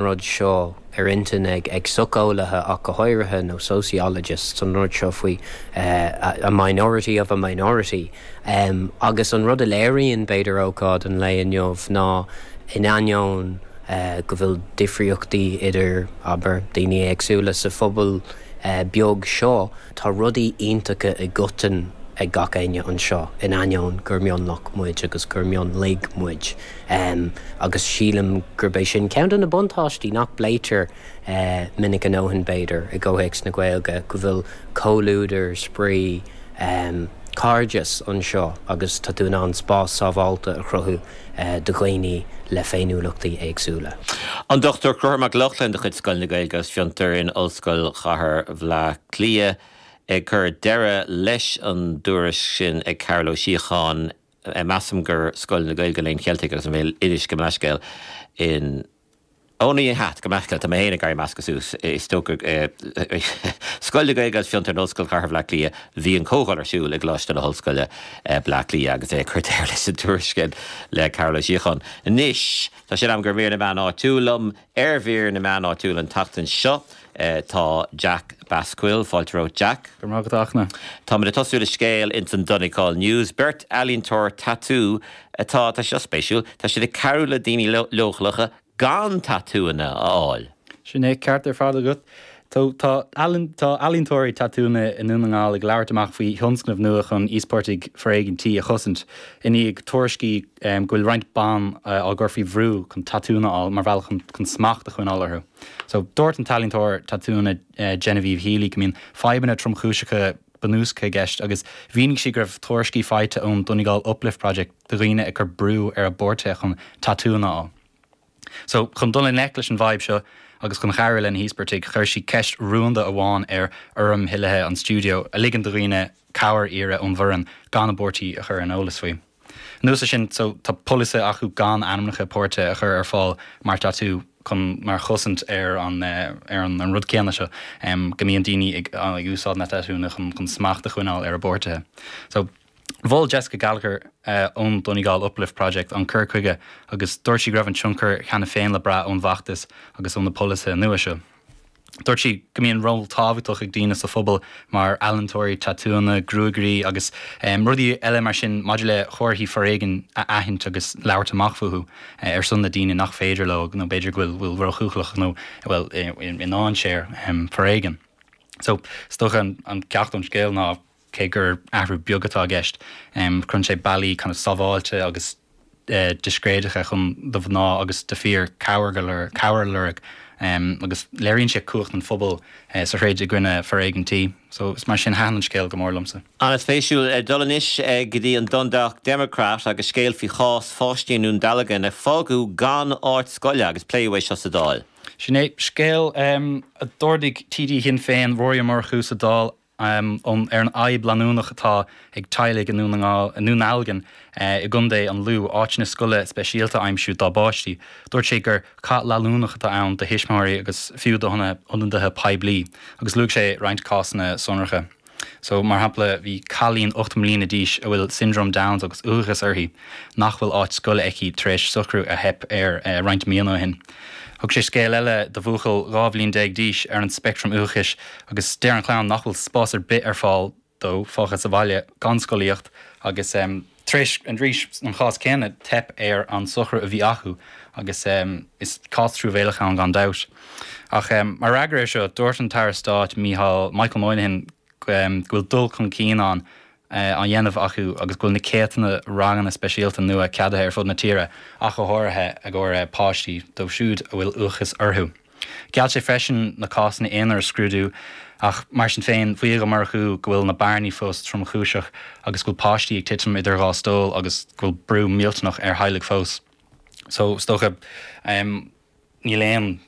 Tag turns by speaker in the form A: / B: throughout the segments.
A: Rud seo ar intinn ag socheolaithe ach go háirithe, nó sociologists, an rud seo faoi a minority of a minority. Agus an rud a léiríonn, b'fhéidir, ócáid an lae inniu ná, in ainneoin go bhfuil difríochtaí idir, abair, daoine éagsúla sa phobal beag seo, tá rudaí iontacha i gcoiteann ag gach éinne anseo, in ainneoin gur mionlach muid agus gur mionlaigh muid. Agus sílim gurb é sin ceann de na buntáistí nach bpléitear minic a ndóthain, b'fhéidir, i gcomhthéacs na Gaeilge, go bhfuil comhluadar, spraoi, cairdeas anseo agus tá tú in ann spás sábháilte a chruthú do dhaoine le féiniúlachtaí éagsúla.
B: An Dr Conchúr Mac Lochlainn de chuid Scoil na Gaeilge agus Fiontar in Ollscoil Chathair Bhaile Átha Cliath ag cur deireadh leis an dtuairisc sin ag Cearbhall Ó Síocháin. Measaim gur Scoil na Gaeilge, Léinn Cheiltigh agus an Bhéil Oideas gabh mo leithscéal in Ó ní hea, gabh mo leithscéal, tá mé féin ag éirí measctha suas, is dócha Scoil na Gaeilge agus Fiontar in Ollscoil Chathair Bhaile Átha Cliath, bhí an comhdháil ar siúl i gColáiste na hOllscoile, Bleá Cliath agus é ag cur deireadh leis an tuairisc sin le Cearbhall Ó Síocháin. Anois, tá sé in am do mhír na meán áitiúil liom. Ar mhír na meán áitiúil an tseachtain seo tá Jack Basquill. Fáilte romhat Jack.
C: Go raibh maith agat a Fhachtna.
B: Táimid ag tosú le scéal ins an Donegal News. Beirt ealaíontóir tatú atá, tá sé seo spéisiúil, tá siad ag cabhrú le daoine leochaileacha gan tatúanna a fháil.
C: Sin é, ceart ar fad agat. Tá tá ealaíontóirí tatúanna i nDún na nGall ag labhairt amach faoi thionscnamh nua chun íospartaigh foréigin tí a chosaint, i ndiaidh tuairiscí go bhfuil roinnt ban á gcur faoi bhrú chun tatúanna a fháil mar bhealach chun smacht a choinneáil orthu. So, dúirt an t-ealaíontóir tatúanna Genevieve Healy go mbíonn fadhbanna tromchúiseacha bunúsacha i gceist agus mhínigh sí go raibh tuairiscí faighte ón Donegal Uplift Project de dhaoine ag cur brú ar a bpáirtithe chun tatúanna a fháil. So, chun dul i ngleic leis an bhfadhb seo agus chun cabhrú le na híospartaigh, chuir sí ceist rúnda amháin ar fhoirm thoilithe an stiúideo, a ligeann do dhaoine cabhair a iarraidh ón bhfoireann gan a bpáirtí a chur ar an eolas faoi. Anuas air sin, so, tá polasaí acu gan ainmneacha páirtithe a chur ar fáil mar tatú chun, mar chosaint ar an, ar an, an rud céanna seo, go mbíonn daoine ag, ag úsáid na tatúnna chun, chun smacht a choinneáil ar a bpáirtithe. So. Mhol Jessica Gallagher ón Donegal Uplift Project an cur chuige agus dúirt sí go raibh an tionchar cheana féin le brath ón bhfeachtas agus ó na polasaithe nua seo. Dúirt sí go mbíonn ról tábhachtach ag daoine sa phobal mar ealaíontóirí tatúanna, gruagairí agus rudaí eile mar sin maidir le comharthaí foréigin a aithint agus labhairt amach fúthu ar son na daoine nach féidir leo nó b'fhéidir go bhfuil ródhóchúlach nó a bhfuil i ndainséar foréigin. So, is dócha an ceacht ón scéal ná Cé gur athrú beag atá i gceist, cuireann sé bealaí kind of sábháilte agus discréideacha chun do mhná agus do fir cabhair a lorg agus léiríonn sé cumhacht an phobail sa throid i gcoinne foréigean tí. So is mar sin thaitin an scéal go mór liomsa.
B: An-spéisiúil. Dul anois go dtí an Dundalk Democrat agus scéal faoi chás pháistí i nDún Dealgan a fágadh gan áit scoile agus pléadh é seo sa Dáil.
C: Sin é scéal a d'ardaigh TD Shinn Féin, Rory Ó Murchú sa Dáil ar an fhadhb leanúnach atá ag teaghlaigh i nDún na nGall, i nDún Dealgan i gContae an Lú, áiteanna scoile speisialta a aimsiú dá bpáistí. Dúirt sé gur cath leanúnach atá ann do thuismitheoirí agus fiú d'ionadaithe poiblí, agus luaigh sé roinnt cásanna sonracha. So, mar shampla, bhí cailín 8 mbliana d'aois a bhfuil Syndrome Downs agus uathachas uirthi, nach bhfuil áit scoile aici tar éis socrú a theip air roinnt míonna ó shin. Thug sé scéal eile de bhuachaill 12 bhliain d'aois ar an speictream uathachais agus deir an chlann nach bhfuil spás ar bith ar fáil dó, fágtha sa bhaile gan scolaíocht agus tar éis arís an chás céanna teip ar an socrú a bhí acu agus is cás truamhéalach ann gan dabht. Ach mar fhreagra ar seo dúirt an tAire Stáit Mícheál Michael Moynihan go bhfuil dul chun cinn ann á dhéanamh acu agus go bhfuil na céadta ranganna speisialta nua ceadaithe ar fud na tíre, ach go háirithe i gcomhair páistí dóibh siúd a bhfuil uathachas orthu. Gheall sé freisin na cásanna aonair a scrúdú ach mar sin féin, mhaígh Ó Murchú go bhfuil na bearnaí fós tromchúiseach agus go bhfuil páistí ag titim idir dhá stól agus go bhfuil brú millteanach ar theaghlaigh fós. So, is dócha, níl aon.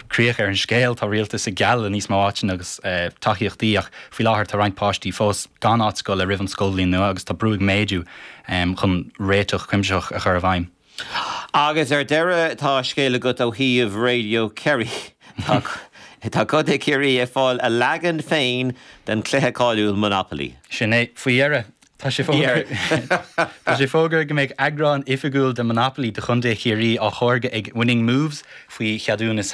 C: críoch ar an scéal. Tá rialtas ag gealladh níos mó áiteanna agus tacaíochtaí ach faoi láthair tá roinnt páistí fós gan áit scoile roimh an scoilbhliain nua agus tá brú ag méadú chun réiteach cuimsitheach a chur i bhfeidhm.
B: Agus ar deireadh tá scéal agat ó shuíomh Radio Kerry. Tá Contae Chiarraí ag fáil a leagan féin den chluiche cáiliúil Monopoly.
C: Sin é, faoi dheireadh. Tá sé Tá sé fógartha go mbeidh eagrán oifigiúil de Monopoly do Chontae Chiarraí á tháirgeadh ag Winning Moves faoi cheadúnas.